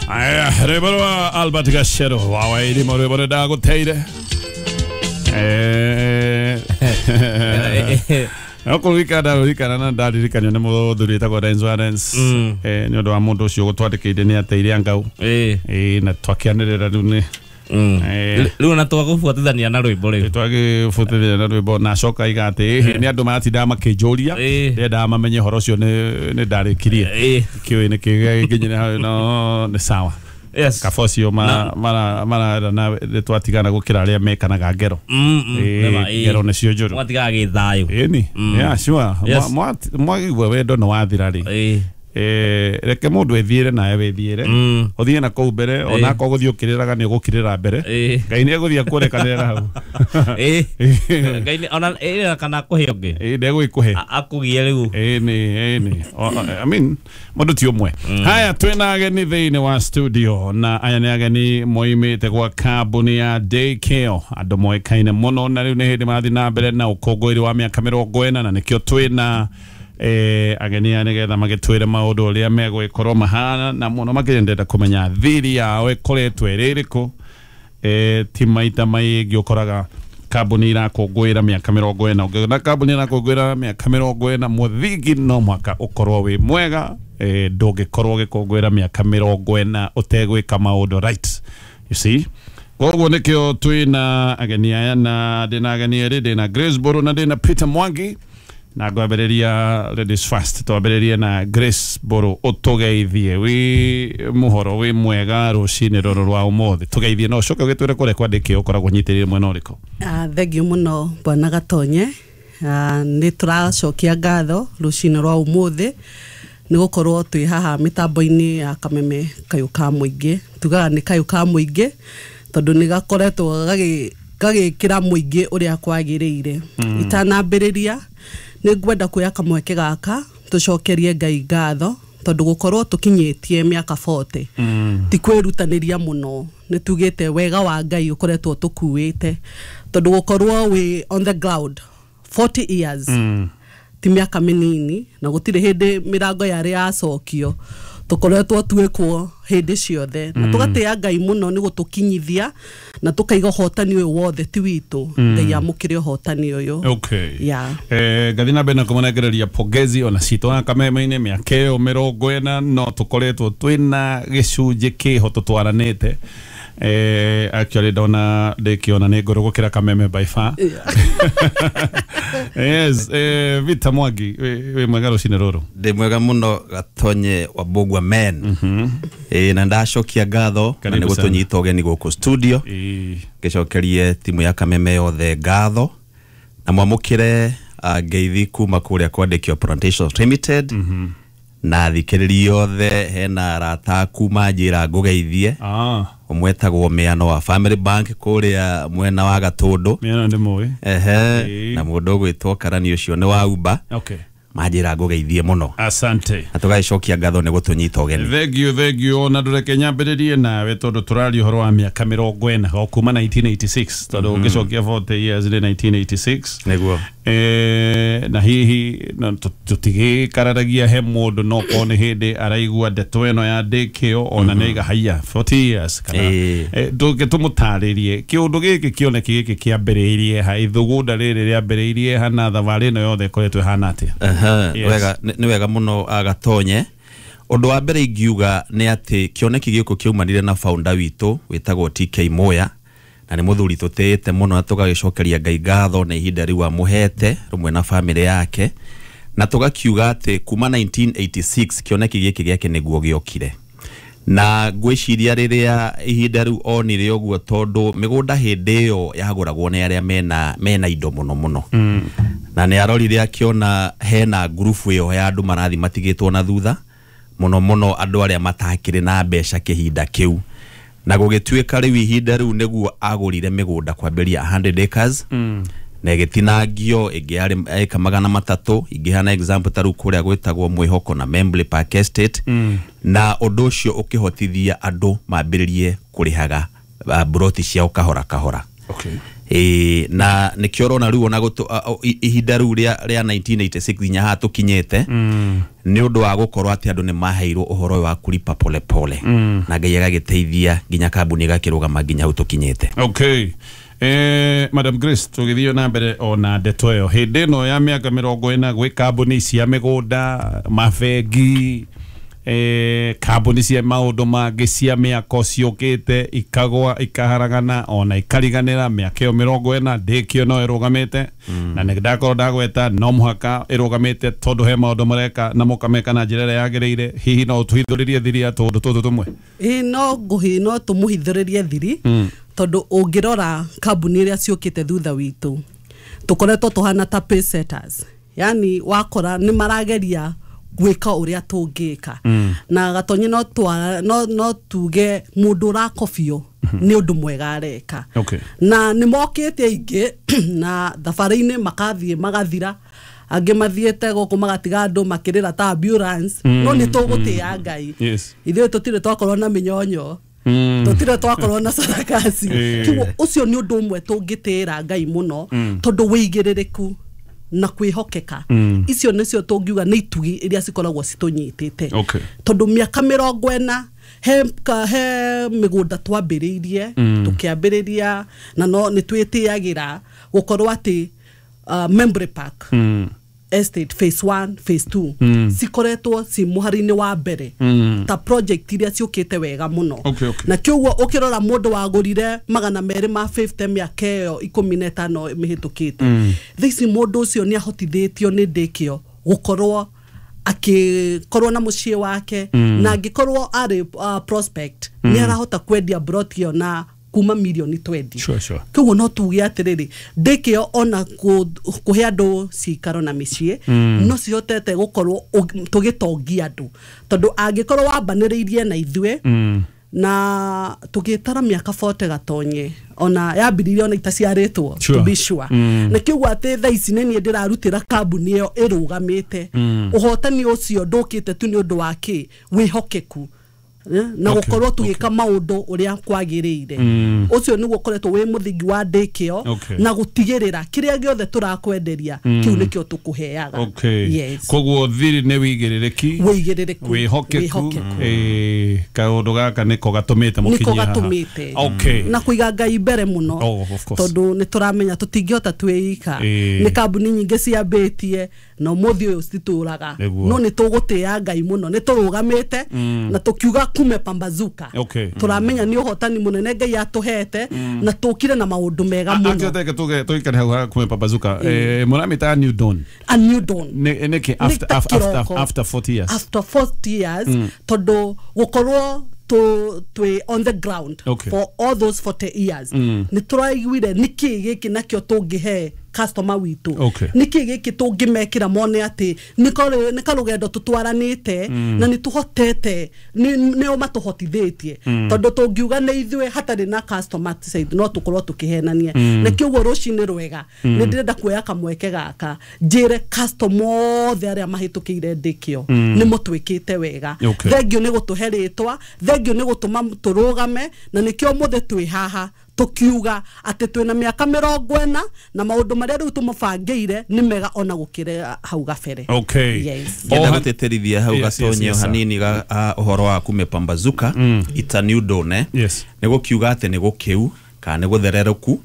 Aya, rwĩmbo rwa Albert Gachero wa Wairimu, rwĩmbo rũrĩa ndagũteire. No kũririkana ndarũririkana na ndaririkanio nĩ mũthuri wĩtagwo Renzo Arens. Nĩ ũndũ wa mũndũ ũcio ũgũtwandĩkĩire nĩ ateire angau. Na twakĩanĩrĩra rĩu nĩ Rĩu na twagũbuatithania na rwĩmbo rĩu. Twagĩbuatithania na rwĩmbo na acoka iga atĩ nĩ andũ maratindaga makĩnjũria, ndendaga mamenye ũhoro ũcio nĩ ndarĩkirie. Kĩũĩ nĩ kĩgĩkinyire hau, no nĩ sawa. Yes. Kaba ũcio marera na nĩ twatigana gũkĩra arĩa mekanaga ngero. Ngero nĩcio njũru. Mwatigaga gĩthayũ. Ĩni. Yeah, sure. Mwagigua wendo nĩ wathira rĩ. Reke mũndũ ethiĩre nawe wĩthiĩre. Ũthiĩ na kũu mbere, ona akorwo gũthiĩ ũkĩrĩraga nĩ ũgũkirĩra mbere. Ngai nĩ egũthiĩ akũrekanĩra hau. Ngai nĩ ona ĩrĩa kana akũhe ũngĩ. Ndegũgĩkũhe. Akũgie rĩu. Ĩni. I mean, mũndũ ti ũmwe. Haya, twĩna ageni thĩinĩ wa studio na aya nĩ ageni moimĩte gwa kambuni ya Daycare, andũ moĩkaine mũno na rĩu nĩ hĩndĩ marathiĩ na mbere na ũkũngũĩri wa mĩaka 40 na nĩkĩo twĩna ageni aya nĩgetha magĩtwĩre maũndũ ũrĩa megũgĩkorwo mahana na mũno makĩria ndĩrenda kũmenya thiri yao ĩkoretwo ĩrĩ ĩrĩkũ. Ti maita maingĩ ũkoraga kambuni irakũngũĩra mĩaka 40, ũngĩona kambuni irakũngũĩra mĩaka 40 mũthingi no mũhaka ũkorwo wĩ mwega. Ndũngĩkorwo ũgĩkũngũĩra mĩaka 40 ũtegwĩka maũndũ right, you see. Koguo nĩkĩo twĩna ageni aya na ndĩna ageni erĩ, ndĩna Grace Mburu na ndĩna Peter Mwangi. Na ngwambĩrĩria ladies first, twambĩrĩrie na Grace Mburu, ũtũgeithie wĩ mũhoro wĩ mwega rũcinĩ rũrũ rwa ũmũthĩ, tũgeithie na ũcoke ũgĩtwĩre kũrĩa kwandĩkĩo ũkoragwo ũnyitĩrĩire mwena ũrĩkũ. Thengiũ mũno bwana Gatonye. Nĩ tũracokia ngatho rũcinĩ rwa ũmũthĩ nĩ gũkorwo twĩ haha mĩtambo-inĩ ya Kameme Kayũ ka Mũingĩ. Tugaga nĩ Kayũ ka Mũingĩ tondũ nĩ gakoretwo gagĩkĩra mũingĩ ũrĩa kwagĩrĩire. Itanambĩrĩria nĩ ngwenda kuoya kamweke gaka tũcokerie Ngai ngatho tondũ gũkorwo tũkinyĩtie mĩaka 40 ti kwĩrutanĩria mũno, nĩ tugĩte wega wa Ngai ũkoretwo tũkuĩte tondũ gũkorwo wĩ on the ground 40 years ti mĩaka mĩnini na gũtirĩ hĩndĩ mĩrango yarĩ yacokio, tũkoretwo twĩkwo hĩndĩ ciothe na tũgatĩĩa Ngai mũno nĩ gũtũkinyithia na tũkaiga ũhotani ũyũ wothe ti witũ. Ngai amũkĩre ũhotani ũyũ. Okay. Yeah. Ngathi na mbere na kũmũnengereria pongezi ona citũ na Kameme-inĩ mĩaka ĩyo 40 no tũkoretwo twĩna gĩcunjĩ kĩho tũtwaranĩte. Actually ndona ndĩkĩona nĩ ngũrũ gũkĩra Kameme by far. Yes, Peter Mwangi wĩ mwega rũcinĩ rũrũ. Ndĩ mwega mũno Gatonye wa Mbũgua men. Na ndacokia ngatho na nĩ gũtũnyita ũgeni gũkũ studio. Ngĩcokerie timu ya Kameme yothe ngatho na mwamũkĩre ngeithi kuma kũrĩa kwandĩkio Plantations Limited. Na thikĩrĩria othe hena arata kuma njĩra ngũgeithie. Ũmwe etagwo Mĩano wa Family Bank kũrĩa mwena wa Gatũndũ. Mĩano ndĩ mũĩ. Ehe, na mũndũ ũgwĩtwo Karani ũcio nĩ wa Uber. Okay. Manjĩra ngũgeithie mũno. Asante. Na tũgagĩcokia ngatho nĩ gũtũnyita ũgeni. Thank you, thank you. Na ndũreke nyambĩrĩrie nawe tondũ tũraria ũhoro wa mĩaka 40 o kuma 1986 tondũ ũngĩcokia 40 years nĩ 1986. Nĩguo. Na hihi tũtigĩkararagia he mũndũ no korwo nĩ hĩndĩ araigua ndeto ĩno ya Daycare ona nĩ aiga haiya 40 years kana ndũngĩ tũmũtarĩrie kĩũndũ gĩkĩ kĩoneki gĩkĩ kĩambĩrĩirie ha, ithugunda rĩrĩ rĩambĩrĩirie ha na thabarĩ ĩno yothe ĩkoretwo ĩhana atĩa? Wega, nĩ wega mũno Gatonye. Ũndũ wa mbere ingiuga nĩ atĩ kĩoneki gĩkũ kĩaumanire na founder witũ wĩtagwo TK Moya, na nĩ mũthuri tũtĩĩte mũno na tũgagĩcokeria Ngai ngatho na ihinda rĩu amũhete rũmwe na famĩlĩ yake, na tũgakiuga atĩ kuma 1986 kĩoneki gĩkĩ gĩake nĩguo gĩokire. Na ngwĩciria rĩrĩa ihinda rĩu onire ũguo tondũ mĩgũnda hĩndĩ ĩyo yagũragwo nĩ arĩa mena indo mũno mũno. Na nĩ arorire akĩona hena ngurubu ĩyo ya andũ marathi matigĩtwo na thutha mũno mũno andũ arĩa matakĩrĩ na mbeca kĩhinda kĩu, na gũgĩtuĩka rĩu ihinda rĩu nĩguo agũrire mĩgũnda kwambĩrĩria 100 acres na ĩgĩtinangio ĩngĩ yarĩ eka 300 ingĩhana example ta rĩu kũrĩa gwĩtagwo Mwĩhoko na Membley Park Estate. Na ũndũ ũcio ũkĩhotithia andũ mambĩrĩrie kũrĩhaga broti ciao kahora kahora. Okay. Na nĩkĩo ũrona rĩu ona ihinda rĩu rĩa 1986 nginya haha tũkinyĩte, nĩ ũndũ wa gũkorwo atĩ andũ nĩ maheirwo ũhoro ũyũ wa kulipa pole pole, na Ngai agagĩteithia nginya kambuni ĩgakĩrũgama nginya hau tũkinyĩte. Okay. Madam Grace, tũgĩthiĩ na mbere ona ndeto ĩyo, hĩndĩ ĩno ya mĩaka 40 gwĩ kambuni cia mĩgũnda, mabengi, kambuni cia maũndũ mangĩ cia mĩako ciũkĩte ikagwa ikaharagana ona ikariganĩra. Mĩaka ĩyo 40 ndĩkĩo no ĩrũgamĩte, na nĩ ndakorwo ndagweta no mũhaka ĩrũgamĩte tondũ he maũndũ mareka na mũkameka na njĩra ĩrĩa yagĩrĩire. Hihi no ũtũhithũrĩrie thiri ya tũũndũ tũtũ tũmwe? Ĩĩ, no ngũhi no tũmũhithũrĩrie thiri, tondũ ũngĩrora kambuni iria ciũkĩte thutha witũ, tũkoretwo tũhana ta pace setters, yani wakora nĩ marageria gwĩka ũrĩa tũngĩka. Na Gatonyi, no tuge mũndũ ũrakobio nĩ ũndũ mwega areka. Na nĩ mokĩte aingĩ na thabarĩ-inĩ makathiĩ magathira, angĩ mathiĩte gũkũ magatiga andũ makĩrĩra ta ambulance, no nĩ tũgũtĩĩa Ngai. Ithuĩ tũtirĩ twakorwo na mĩnyonyo, tũtirĩ twakorwo na sarakasi. Kĩguo ũcio nĩ ũndũ ũmwe tũngĩtĩĩra Ngai mũno, tondũ wĩigĩrĩrĩku na kwĩhokeka, icio nĩcio tũngiuga nĩ itugi iria cikoragwo citũnyitĩte. Tondũ mĩaka 40 he mĩgũnda twambĩrĩirie, tũkĩambĩrĩria na no nĩ twĩtĩagĩra gũkorwo atĩ Membury Park Estate phase 1, phase 2 cikoretwo ci mũhari-inĩ wa mbere ta project iria ciũkĩte wega mũno. Na kĩoguo ũkĩrora mũndũ wagũrire 250 mĩaka ĩyo 15 mĩhĩtũkĩte, thaa ici mũndũ ũcio nĩ ahotithĩtio nĩ ndĩkĩo gũkorwo akĩkorwo na mũciĩ wake, na angĩkorwo arĩ prospect nĩ arahota kwendia broti ĩyo na kuma mirioni 20. Sure. Koguo no tuge atĩrĩrĩ, ndĩkĩo ona kũhe andũ cikaro na mĩciĩ no cihotete gũkorwo tũgĩtongia andũ, tondũ angĩkorwo wambanĩrĩirie na ithuĩ na tũgĩtara mĩaka 40, Gatonye, ona yambĩrĩirie ona itaciarĩtwo, to be sure. Na kĩuguo atĩ thaa ici nĩ niĩ ndĩrarutĩra kambuni ĩyo ĩrũgamĩte. Ũhotani ũcio ndũkĩte tu nĩ ũndũ wa kĩ wĩhokeku na gũkorwo tũgĩka maũndũ ũrĩa kwagĩrĩire. Ũcio nĩguo ũkoretwo wĩ mũthingi wa ndĩkĩo na gũtigĩrĩra kĩrĩa gĩothe tũrakwenderia, kĩu nĩkĩo tũkũheaga. Yes. Koguo thiri nĩ wĩigĩrĩrĩki, wĩigĩrĩrĩku, wĩhokeku, kaũndũ gaka nĩko gatũmĩte nĩko mũkinyie haha. Gatũmĩte na kũiga Ngai mbere mũno. Oh, of course. Tondũ nĩ tũramenya tũtingĩhota twĩika. Nĩ kambuni nyingĩ ciambĩtie na ũmũthĩ ũyũ cititũraga, no nĩ tũgũtĩĩa Ngai mũno, nĩ tũrũgamĩte na tũkiuga kume pambazuka. Tũramenya nĩ ũhotani mũnene Ngai atũhete na tũkire na maũndũ mega mũno. Akĩoteke tuge tuikare hau ha kume pambazuka, mũramĩtaga new dawn? A new dawn. Nĩkĩ Nĩ ta kĩroko. after 40 years? After 40 years, tondũ gũkorwo twĩ on the ground for all those 40 years, nĩ tũraiguire nĩkĩ gĩkĩ nakĩo tũngĩhe customer witũ, nĩkĩ gĩkĩ tũngĩmekĩra mone atĩ nĩ karũgendo tũtwaranĩte na nĩ tũhotete, nĩo matũhotithĩtie, tondũ tũngiuga nĩ ithuĩ hatarĩ na customer side no tũkorwo tũkĩhenania. Na kĩoguo rũcinĩ rwega nĩ ndĩrenda kuoya kamweke gaka njĩre customer othe arĩa mahĩtũkĩire ndĩkĩo nĩ mũtwĩkĩte wega. Thengio nĩ gũtũhe rĩtwa, thengio nĩ gũtũma tũrũgame, na nĩkĩo mũthĩ twĩ haha tũkiuga atĩ twĩna mĩaka 40 na maũndũ marĩa rĩu tũmabangĩire nĩ mega ona gũkĩra hau gabere. Yes. Ngenda gũtĩtĩrithia hau, Gatonye, sir. hanini ũhoro wa kumepambazuka, it's a new dawn, eh? Nĩ gũkiuga atĩ nĩ gũkĩu kana nĩ gũthererũku,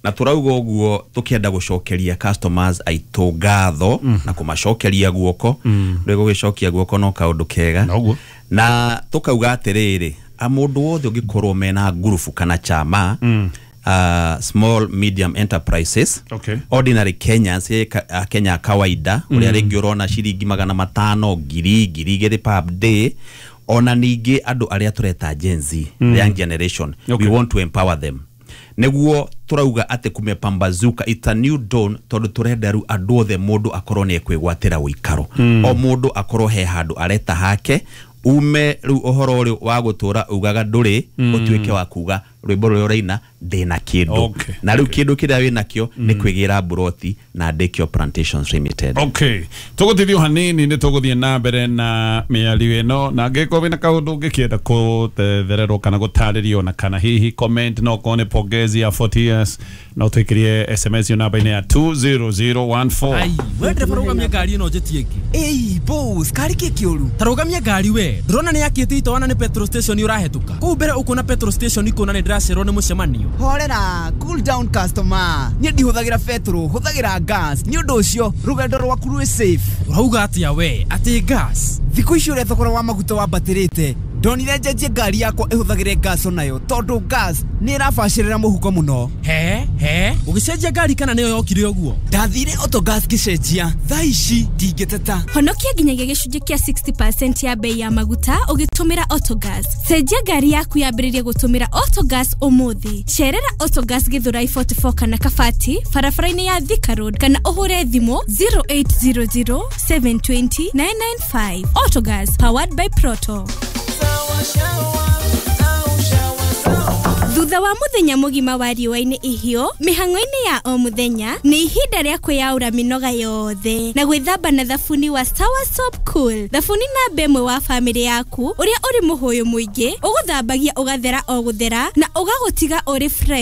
na tũrauga ũguo tũkĩenda gũcokeria customers aitũ ngatho na kũmacokeria guoko. Rĩu gũgĩcokia guoko no kaũndũ kega. Noguo. Na tũkauga atĩrĩrĩ, a mũndũ wothe ũngĩkorwo mena ngurubu kana chama, small medium enterprises, ordinary Kenyans, Kenya kawaida ũrĩa rĩngĩ ũrona ciringi 500, 1,000, 2,000 per day, ona ningĩ andũ arĩa tũreta Gen Z, the young generation, we want to empower them. Nĩguo tũrauga atĩ kumepambazuka, it's a new dawn, tondũ tũrenda rĩu andũ othe mũndũ akorwo nĩ ekwĩgwatĩra ũikaro, o mũndũ akorwo he handũ areta hake, ume rĩu ũhoro ũrĩ wa gũtũra ugaga ndũrĩ, ũtuĩke wa kuga Rwĩmbo rũrĩa ũraina ndĩna kĩndũ. Na rĩu kĩndũ kĩrĩa wĩnakĩo nĩ kwĩgĩra mburoti na Daycare Plantations Limited. Okay, tũgũtithio hanini nĩ tũgũthiĩ na mbere na mĩario ĩno, na angĩkorwo wĩna kaũndũ ũngĩkĩenda kũthethererwo kana gũtarĩrio na kana hihi comment, no korwo nĩ pongezi ya 40 years, no twĩkĩrie SMS yo namba-inĩ ya 20014. Ai, we ndereba, rũgamia ngari ĩno njĩtie ĩngĩ. Ĩi boss, kari kĩ kĩũru? Ta rũgamia ngari we, ndũrona nĩ yakĩte itoana nĩ petrol station ũrahetũka kũu mbere, ũkuona petrol station ikuona nĩ ndĩracererwo nĩ mũcemanio. Horera, cool down customer, niĩ ndihũthagĩra betũrũ, hũthagĩra gas, nĩ ũndũ ũcio rũgendo rwaku rwĩ safe. Ũrauga atĩa we, atĩ gas? Thikũ ici ũrĩa thogora wa maguta wambatĩrĩte, ndonire njenjie ngari yakwa ĩhũthagĩre gas onayo, tondũ gas nĩ ĩrabacĩrĩra mũhuko mũno. He he, ũgĩcenjia ngari kana nĩyo yokire ũguo? Ndathire Autogas ngĩcenjia, thaa ici ndingĩteta. Honokia nginyagia gĩcunjĩ kĩa 60% ya bei ya maguta ũgĩtũmĩra Autogas. Cenjia ngari yaku yambĩrĩrie gũtũmĩra Autogas ũmũthĩ. Cerera Autogas Githurai 44 kana Kabati barabara-inĩ ya Thika Road, kana ũhũre thimũ 0800 720 995. Autogas, powered by Proto. Thutha wa muthenya mũgima wa riũa-inĩ ihiũ mĩhang'o-inĩ ya o mũthenya, nĩ ihinda rĩa kwĩyaũra mĩnoga yothe na gwĩthamba na thabuni wa Sawa Soap Cool, thabuni namba ĩmwe wa bamĩrĩ yaku, ũrĩa ũrĩ mũhũyũ mũingĩ ũgũthambagia ũgathera o gũthera na ũgagũtiga ũrĩ fresh.